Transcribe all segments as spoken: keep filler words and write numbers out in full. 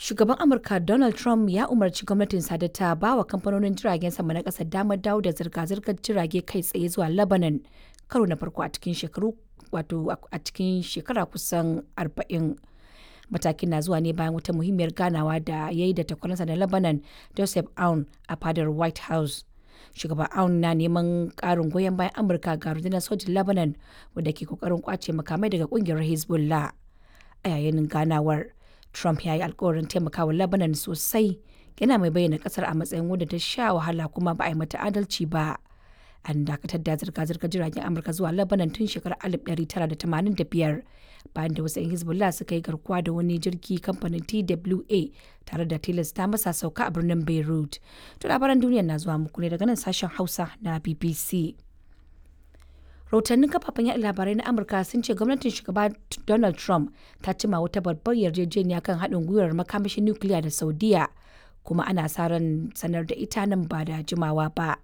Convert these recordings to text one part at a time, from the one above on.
Shugaban Amurka Donald Trump ya umarci gwamnatinsa da ta ba wa kamfanonin jiragen sama na ƙasar damar dawo da zirga-zirgar jirage kai tsaye zuwa Lebanon karo na farko a cikin shekaru wato a cikin shekara kusan arba'in. Matakin na zuwa ne bayan wata muhimmiyar ganawa da ya yi da takwaransa na Lebanon Joseph Aoun a fadar White House. Shugaban Aoun na neman ƙarin goyon bayan Amurka ga rundunar sojin Lebanon wadda ke kokarin kwace makamai daga kungiyar Hezbollah. A yayin ganawar, Trump ya yi alkawarin taimakawa Lebanon sosai, yana mai bayyana kasar a matsayin wadda ta sha wahala kuma ba a yi mata adalci ba. An dakatar da zirga-zirgar jiragen Amurka zuwa Lebanon tun shekarar alif ɗari tara da tamanin da biyar bayan da wasu 'yan Hezbollah suka yi garkuwa da wani jirgi kamfanin T W A tare da tilasta masa sauka a birnin Beirut. To, labaran duniya na zuwa muku ne daga nan sashen Hausa na B B C. Rahotannin kafafen yaɗa labarai na Amurka sun ce gwamnatin Shugaba Donald Trump ta cima wata babbar yarjejeniya kan haɗin gwiwar makamashin nukiliya da Saudiya, kuma ana sa ran sanar da ita nan ba da jimawa ba.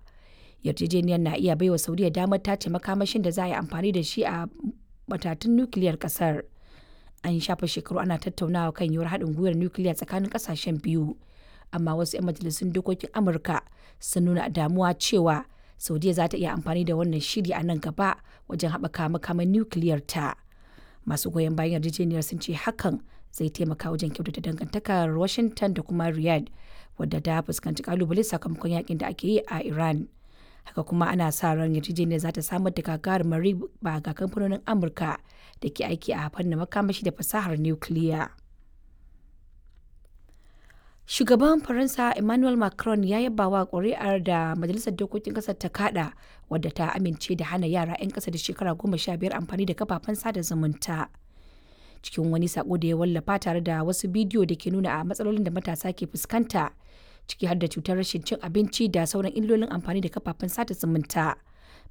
Yarjejeniyar na iya baiwa Saudiya damar tace makamashin da za a yi amfani da shi a matatun nukiliyar kasar. An shafa shekaru ana tattaunawa kan yiwuwar haɗin gwiwar nukiliya tsakanin ƙasashen biyu, amma wasu 'yan majalisun dokokin Amurka sun nuna damuwa cewa Saudiya za ta iya amfani da wannan shiri a nan gaba wajen haɓaka makaman nukiliyar ta. Masu goyon bayan yarjejeniyar sun ce hakan zai taimaka wajen kyautata dangantakar Washington da kuma Riyadh, wadda ta fuskanci kalubale sakamakon yakin da ake yi a Iran. Haka kuma ana sa ran yarjejeniyar za ta samar da gagarumar riba ga kamfanonin Amurka da ke aiki a fannin makamashi da fasahar nukiliya. Shugaban Faransa Emmanuel Macron ya yaba wa ƙuri'ar da Majalisar Dokokin Ƙasar ta kaɗa wadda ta amince da hana yara 'yan ƙasa da shekara goma sha biyar amfani da kafafen sada zumunta. Cikin wani sako da ya wallafa tare da wasu bidiyo da ke nuna a matsalolin da matasa ke fuskanta, ciki har da cutar rashin cin abinci da sauran illolin amfani da kafafen sada zumunta,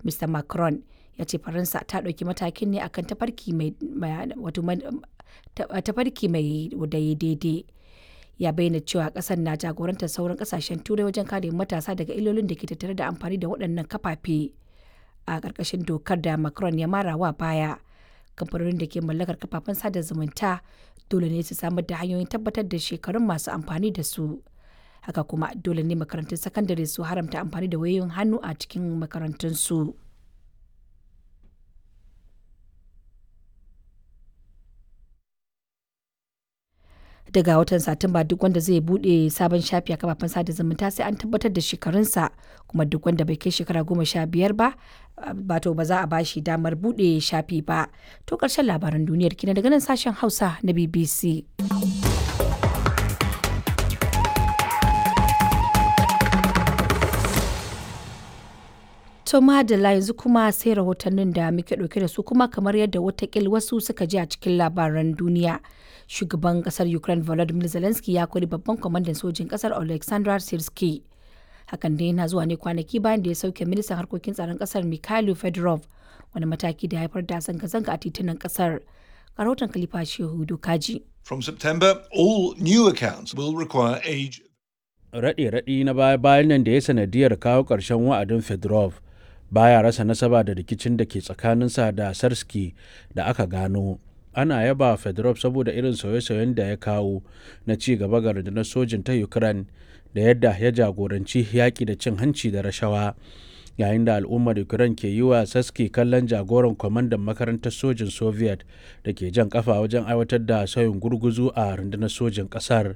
Mister Macron ya ce Faransa ta ɗauki matakin ne akan tafarki mai tafarki mai daidai. Ya bayyana cewa kasar na jagorantar sauran kasashen Turai wajen kare matasa daga illolin da ke tattare da amfani da waɗannan kafafe. A ƙarƙashin dokar da Macron ya mara wa baya, kamfanonin da ke mallakar kafafen sada zumunta dole ne su samar da hanyoyin tabbatar da shekarun masu amfani da su. Haka kuma dole ne makarantun sakandare su haramta amfani da wayoyin hannu a cikin makarantunsu. Daga watan Satumba, duk wanda zai bude sabon shafi a kafafen sada zumunta sai an tabbatar da shekarunsa, kuma duk wanda bai kai shekara goma sha biyar ba ba to ba za a bashi damar bude shafi ba. To, karshen labaran duniyar kina daga nan sashen Hausa na B B C. To madalla, yanzu kuma sai rahotannin da muke ɗauke da su. Kuma kamar yadda watakil wasu suka ji a cikin labaran duniya, shugaban kasar Ukraine Volodymyr Zelensky ya kori babban kwamandan sojin kasar Alexander Sirski. Hakan dai yana zuwa ne kwanaki bayan da ya sauke ministan harkokin tsaron kasar Mikhailo Fedorov, wani mataki da ya haifar da zanga-zanga a titunan kasar. Rahoton Khalifa Shehu Dokaji. From September, all new accounts will require age Raɗe-raɗi na baya-bayan nan da ya sanadiyar kawo ƙarshen wa'adin Fedorov baya rasa nasaba da rikicin da ke tsakaninsa da Sarski da aka gano. Ana yaba Fedorov saboda irin sauye-sauyen da ya kawo na ci gaba ga rundunar sojin ta Ukraine da yadda ya jagoranci yaƙi da cin hanci da rashawa. Yayin da al'ummar Ukraine ke yi wa Saski kallon jagoran kwamandan makarantar sojin Soviet da ke jan kafa wajen aiwatar da sauyin gurguzu a rundunar sojin ƙasar.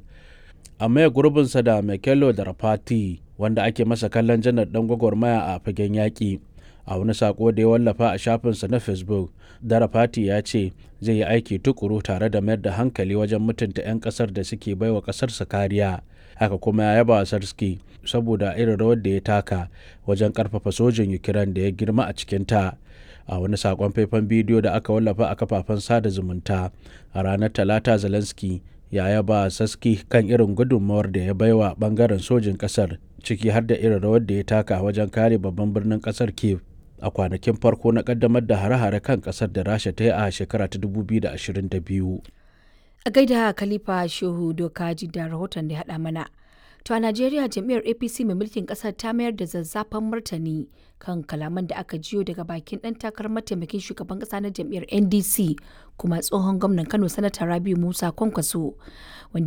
A maye gurbinsa da Michelo Drapati, wanda ake masa kallon janar dan gwagwarmaya a fagen yaƙi. A wani sako da ya wallafa a shafinsa na Facebook, Darafati ya ce zai yi aiki tukuru tare da mayar da hankali wajen mutunta 'yan kasar da suke baiwa kasarsa kariya. Haka kuma ya yaba Sarski saboda irin rawar da ya taka wajen karfafa sojin Ukraine da ya girma a cikinta. A wani sakon faifan bidiyo da aka wallafa a kafafen sada zumunta a ranar Talata, Zelensky ya yaba Saski kan irin gudunmawar da ya baiwa bangaren sojin kasar, ciki har da irin rawar da ya taka wajen kare babban birnin kasar Kiev a kwanakin farko na kaddamar da hare-hare kan kasar da Rasha ta yi a shekara ta dubu biyu da ashirin da biyu. A gaida Khalifa Shehu Dokaji da rahoton da ya haɗa mana. To, a Najeriya, jam'iyyar A P C mai mulkin ƙasar ta mayar da zazzafan martani kan kalaman da aka jiyo daga bakin ɗan takarar mataimakin shugaban ƙasa na jam'iyyar N D C kuma tsohon gwamnan Kano, Sanata Rabiu Musa Kwankwaso, wanda